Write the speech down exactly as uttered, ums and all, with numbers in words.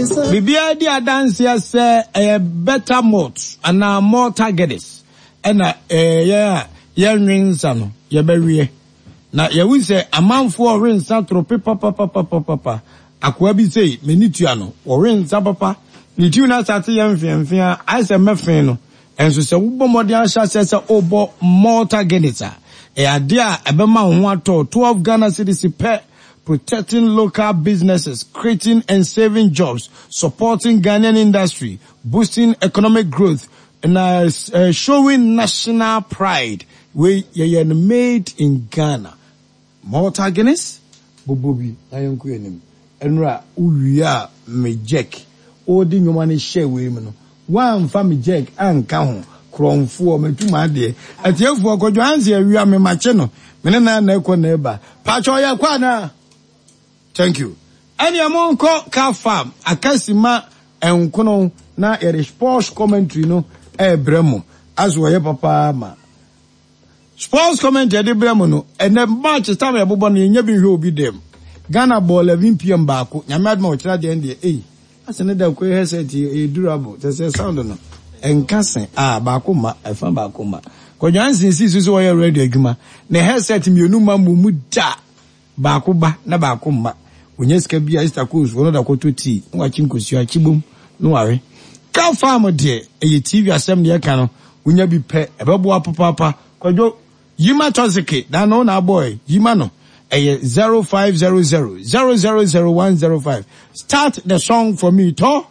Biribiara di adanseɛ sɛ ɛyɛ better malt anaa Malta Guinness ɛna ɛyɛ a yɛnwe nsa no yɛbɛweɛ. Na yɛhu sɛ amanfoɔ ɔwe nsa torope papapapapapa. Akoa bi sei, m'ani tua no, ɔwe nsa papa. Ne tiw no asate yɛ mfeamfea, ayɛ sɛ mɛfe no. Ɛnso sɛ wobɔ mmɔden ahyɛ aseɛ sɛ wobɔ Malta Guinness a, ɛyɛ adeɛ a ɛbɛma wo ho atɔ. twelve Ghana cedis pɛ, protecting local businesses, creating and saving jobs, supporting Ghanaian industry, boosting economic growth, and uh, uh, showing national pride. Wei yɛyɛ no made in Ghana. Malta Guinness, bobo bi na yɛnkɔ anim. Ɛnora wowie a me jack, wode nnwoma no hyɛ wei mu no, woamfa me jack anka ho. Korɔmfoɔ, matum adeɛ. Atiefoɔ, Kwadwo Anse awia me makye no. Me ne na na ɛkɔ na ɛba. Paatwa ɔyɛ kɔ anaa? Thank you. Ɛnea monkɔ Car Farm, akasima nkono na yɛde sports commentary no ɛɛbrɛ mo. Aso ɔyɛ papa ma. Sports commentary yɛde brɛ mo no, ɛnɛ match time yɛbobɔ no, yɛnya bi nhwɛ obi dɛm. Ghana bɔ eleven p m baako. Nyame adom a ɔkyerɛ deɛ deɛ, ei, asɛ ne da kɔ headset yɛ durable. Kyɛ sɛ sound no, ɛnka se, a baako ma, ɛfa baako ma. Kwadwo Anse si so sɛ wɔyɛ radio adwuma. Ne headset mmienu ma mu mu da. Baako ba na baako mma. Onya sika bi a Easter Coast wɔn da kɔtɔ tii na wakye nkosua akyi bom na wawe. Car Farm deɛ, ɛyɛ T V asɛm deɛ ɛka no, wonya bi pɛ, ɛbɛboa papaapa. Kwadwo, yima tɔseke, na no na abɔɛ, yima no. Ɛyɛ zero five zero zero zero zero zero one zero five. Start the song for me, tɔ.